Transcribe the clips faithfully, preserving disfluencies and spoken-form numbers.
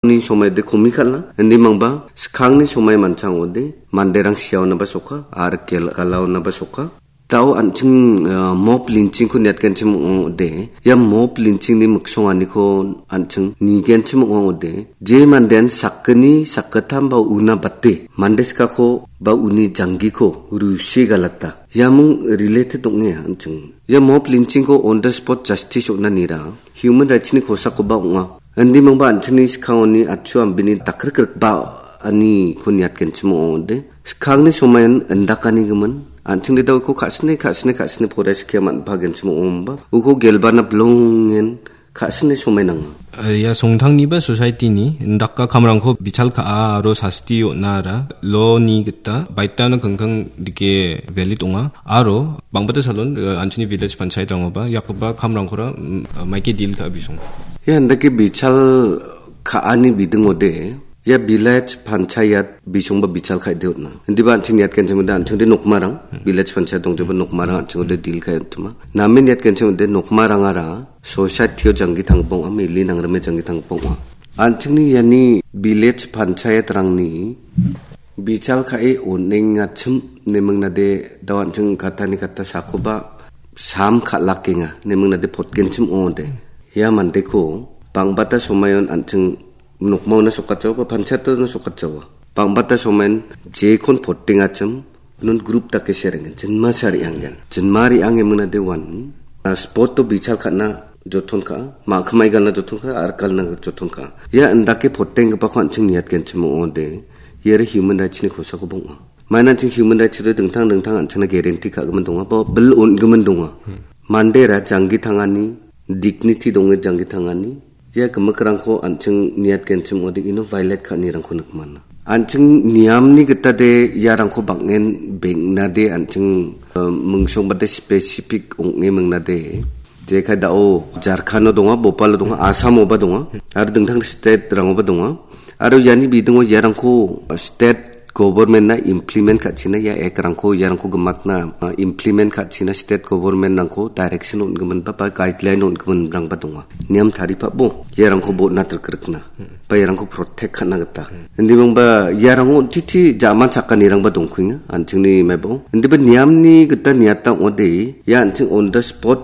Ni somaide komi kal·a. Indi mangba skangni somai manchang ode manderang siaonaba soka, ar kel-, galaonaba soka. Tao an·ching, ah, mop linchingko niatgenchim ong·ode. Ia mop linchingni miksonganiko an·ching nigenchim ong·ode. Je mandean sakgni sakgittam ba una bate, mande skako ba uni janggiko rusi galata. Iaming related ong·e an·ching. Ia mop linchingko on the spot justice on·anira human rights-ni kosakoba ong·a. Indi mangba an·chingni skangoni atchu ambini dakrikrikba aniko niatgenchim ong·ode. Skangni somain indakanigimin, an·chingde dao uko ka·sine, ka·sine, ka·sine poraiskia man·pagenchim ong·omba. Uko gelbana bilongen ka·sine somai nanga. Eh, ia songtangniba society-ni indaka kamrangko bichal ka·a aro sasti on·ara law-ni gita baitano kingking dike valid ong·a. Aro bangbata salon, eh, an·chingni village panchayat-rangoba, iakgipa kamrangkora, mm, maike deal ka·a bisong. Ia indake bichal ka·ani bidingode, ia village panchayat bisongba bichal ka·ide on·a. Indiba an·ching niatgenchimode an·chingde nokmarang, village panchayat dongjoba nokmarang an·chingode deal ka·e on·tima. Name niatgenchimode nokmarangara society-o janggi tanggipa ong·a, mili nangrime janggi tanggipa ong·a. An·chingni iani village panchayat-rangni bichal ka·e on·engachim nemingnade dao an·ching katani kata sakoba sam kal·akenga nemingnade potgenchim ong·ode. Ia mandeko bangbata somayon an·ching nokmaona sokatjaoba, panchayatona sokatjaoa. Bangbata somain jekon potengachim, nun group dake serengen, jinma sa re·angen. Jinma re·ange mingnade wan, ah, spot-o bichal ka·na joton ka·a, ma·kimai galna joton ka·a, ar galna joton ka·a. Ia indake potenggipako an·ching niatgenchim ong·ode, iare human rights-ni kosakoba ong·a. Maina an·ching human rights-rangde dingtang dingtang an·chingna guarantee ka·gimin donga, ba bil on·gimin donga. Hmm. Mandera janggi tangani, dignity donge janggi tangani, ia gimikrangko an·ching niatgenchim ong·ode ino violate ka·anirangko nikmana. An·ching niamni gitade iarangko bang·en beng·nade an·ching, eh, mingsongbade specific ong·e mingnade. Jekai dao Jharkhando donga, Bhopalo donga, Assamoba donga, aro dingtang state-rangoba donga. Aro iani bidingo iarangko state government-na implement ka·china, ia act-rangko iarangko gimatna, ah, implement ka·china state government-rangko direction on·giminba, ba guideline on·giminrangba donga. Niam taripabo iarangko botna trikrikna, ba iarangko protect ka·na gita. Indimangba iarango titi jaman chakanirangba dongkuenga, an·chingni maibao. Indiba niamni gita niata ong·ode, ia an·ching on the spot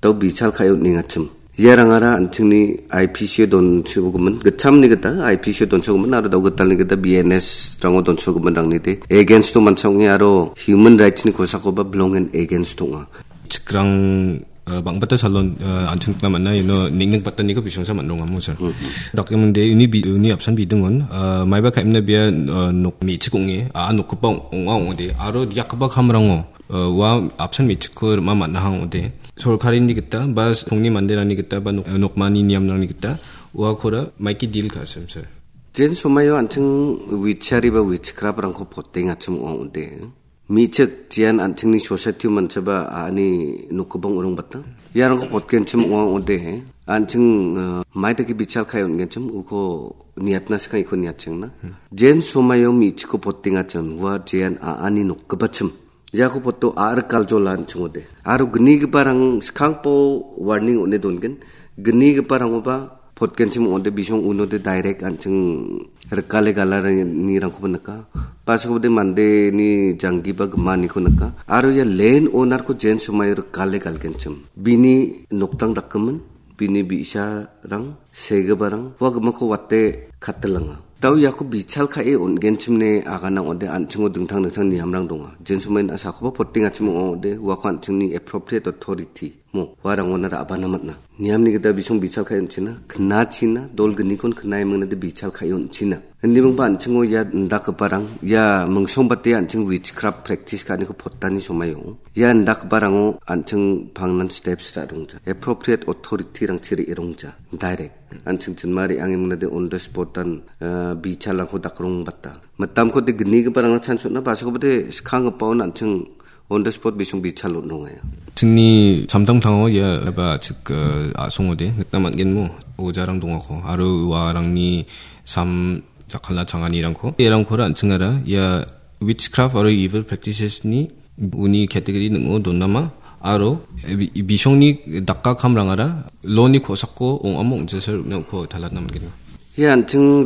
dao bichal ka·e on·engachim. Iarangara an·chingni I P C-o donsogimin, gitchamni gita I P C-o donsogimin aro dao gitalni gita B N S-rango donsogiminrangni de against-o mancha ong·e aro human rights-ni kosakoba bilongen against ong·a. Chikrang, eh, bang·bata salon, eh, an·ching nikna man·a, ino neng·neng bataniko bisongsa man·rongamo, sir. Hmm. Dakemingde uni bi-, uni apsan bidingon, eh, maiba ka·emna bia, eh, nok me·chik ong·e, a·a nokgipa ong·a ong·ode, aro diakgipa kamrango, eh, ua apsan me·chikko rima man·aha ong·ode. Sorkarini gita ba songni manderangni gita ba nok-, nokmani niamrangni gita uakora maiki deal ka·sim, sir. Jen somaio an·ching wichari ba witchcraft-rangko potengachim ong·ode. Me·chik jian an·chingni society-o manchaba a·ani nokgipang ong·bata. Iarangko potgenchim ong·a ong·ode. An·ching, eh, maidake bichal ka·e on·genchim uko niatna skang iko niatchengna. Hmm. Jen somaio me·chikko potengachim ua jian a·ani nokgipachim. Iako poto a·rikal jola an·ching ong·ode. Aro gnigiparang skangpo warning on·e dongen. Gnigiparangoba potgenchim ong·ode bisong unode direct an·ching rikale galanirangkoba nika. Pasokode mandeni janggiba gimaniko nika. Aro ia land owner-ko jen somaio rikale galgenchim. Bini noktang dakgimin, bini bi·sarang, segiparang, ua gimikko wate katilanga. Dao iako bichal ka·e on·genchimne agana ong·ode an·chingo dingtang dingtang niamrang donga. Jen somain a·sakoba potengachim ong·ode uako an·chingni appropriate authority mo, uarangona ra·bana man·a. Niamni gita bisong bichal ka·e on·china, knachina, dol gnikon knae mingnade bichal ka·e on·china. Indimingba an·chingo ia indakgiparang, ia mingsongbate an·ching witchcraft practice ka·aniko potani somaio. Ia indakgiparango an·ching pangnan steps ra·rongja. Appropriate authority-rangchi re·rongja. Direct. An·ching chinma re·ange mingnade on the spot-an, eh, bichalrangko dakrongbata. Mitamkode gnigiparangna chance on·a, ba·sakobade skanggipaon an·ching on the spot bisong bichal on·rongaia. Chingni samtangtango ia ba chik, eh, a·songode nikna man·genmo ojarang dongako. Aro uarangni sam jakkalna changanirangko. Iarangkora an·chingara ia witchcraft aro evil practices-ni uni category ning·o donama. Aro, eh, bi-, bisongni dakka kamrangara law-ni kosako ong·amo ong·jasa rikna uko talatna man·genga. Ia an·ching